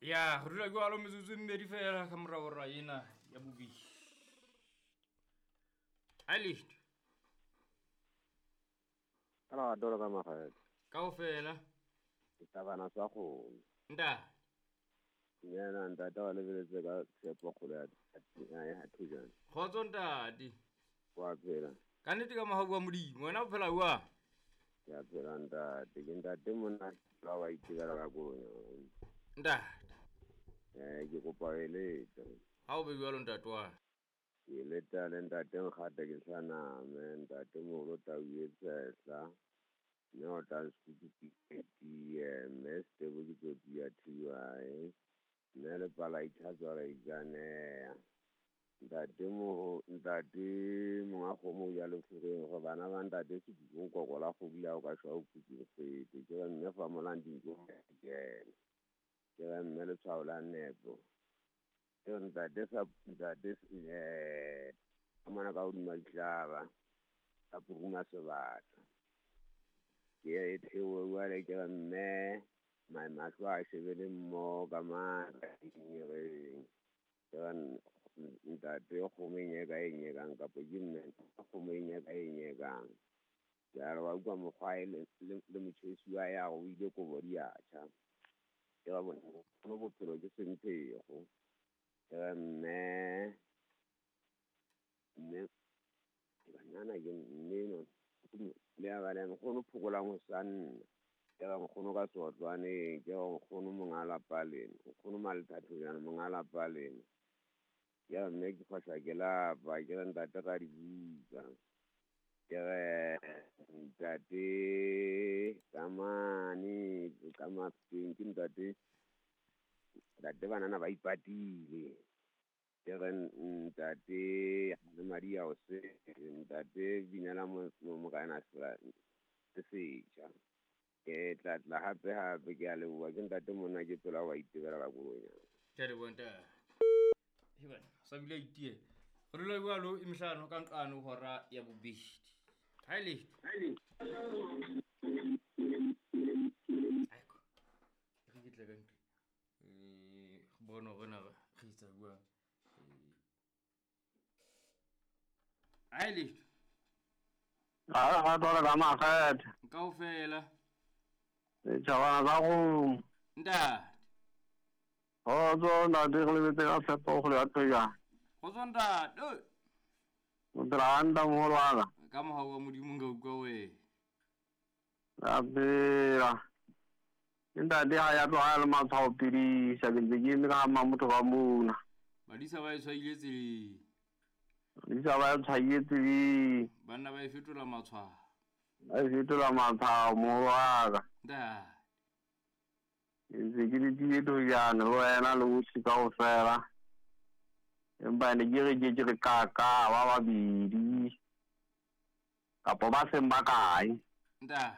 Ya re dula jwalo metsotso e mmedi fela ka mora hora ena ya bobedi. A letho. Ka lerato le ka makgethe. Kaofela. Setabana sa kgomo. Ntate. Dumela ntate wa lebeletse ka tshepo kgolo ya Thejane. Kgotso ntate. Wa phela. Ka nnete ka mohau wa Modimo, wena o phela jwang? Ke a phela ntate. Ke ntate monna la wa itebela ka koloi. Ntate. Ke kopa ho eletsa. Ha o be jwalo ntate wa. Ke eletsa le ntate Nkgata ke sa name, ntate moholo tau e tshehla. Mme o tla sekutu pitie, mme Setebo ke tsotsi ya TY. Mme le pala itlhatswa la itsaneya. Ntate moho, ntate monga kgomo o ja lefureng gore bana ba ntate Sekutu koko la kgobu la o ka shwa o phutseng kgwete. Ke re mme fa molang dintlo kena. Ke re mme letshwao la nepo. Ke re ntate sa ntate ka mona ka hodima dihlaba ka puruma sebata. Ke e theohe jwale ke re mme mahlo a shebele mmoho ka matla dingereng. Ke re ntate kgomo e nyeka e nyekang kapa ke mme kgomo e nyeka e nyekang. Ke a re wa utlwa mokgwa e le motjhesi wa ya o ile kobo di a tjha. Ke re bono bophelo ke semphego. Ke re mme mme banana ke mme no le ya ba le nkgono phokolang ho sa nna. Ke re nkgono ka seotlwaneng, ke re nkgono monga lapa lena, nkgono Malethathonyana monga lapa lena. Ke re mme ke kgwahla ke lapa, ke re ntate ra di buka. Ke re ntate ka mane ka Mafeteng ke ntate ntate banana ba ipatile. Ke re ntate le madi a o se ntate binela morena se setjha. Ke tla tla hape hape ke a leboha ke ntate monna ke tsela wa itebela ka koloi. Ke a leboha ntate. He bana, sa bile itie. Re dula jwalo e mehlano ka nqane hora ya bobedi. Ha e letho. Aiko. Re ke tle ka ntlo. Bona hore na re etsa jwang. Ha e letho. Ha tlola ka makgethe. Kaofela. Setjhabana sa kgomo. Ntate. Kgotso ntate re lebetse ka tshepo kgolo ya Thejane. Kgotso ntate. O phela hantle moholo wa ka. Ka mohau wa Modimo nka utlwa wena. Re a phela. Ke ntate ha ya tloha le matshwao pidisa ke ntse ke eme ka motho ka mona. Badisa ba e tshwaile tseleng. Badisa ba e tshwaile tseleng. Banna ba e fetola matshwao. Ba e fetola matshwao moholo wa ka. Ntate. Ke ntse ke letile Thejane le wena le bohle kaofela. Empa ne ke re ke ke re kaka ba babedi kapa ba seng ba kae. Ntate.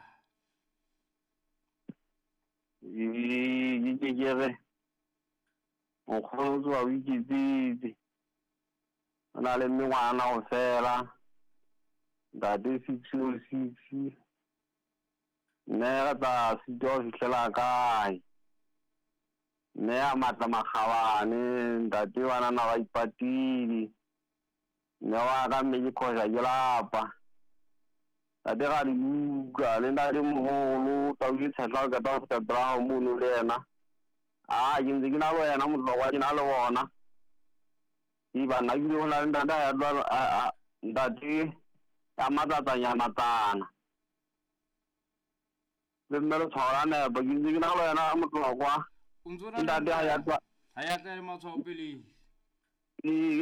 Ke ke re nkgono o tsoha o iketsitse. O na le mengwana ho fela. Ntate 606. Mme re tla sitwa ho fihlela kae? Mme a matla makgabane, ntate banana ba ipatile. Mme wa ka mme ke khoja ke lapa. Ntate ra di buka le ntate moholo tau ke tshehla o qeta ho fihla pela hao mono le yena. Ah, ke ntse ke na le wena motlokwa ke na le bona. E banna ke ho na le ntate ya tloha ntate ya matsatsanyana tsana. Le mme le tshwao la nepo ke ntse ke na le wena motlokwa. O ntso na Ntate ha ya tloha ha ya tla le matshwao pele. Ee.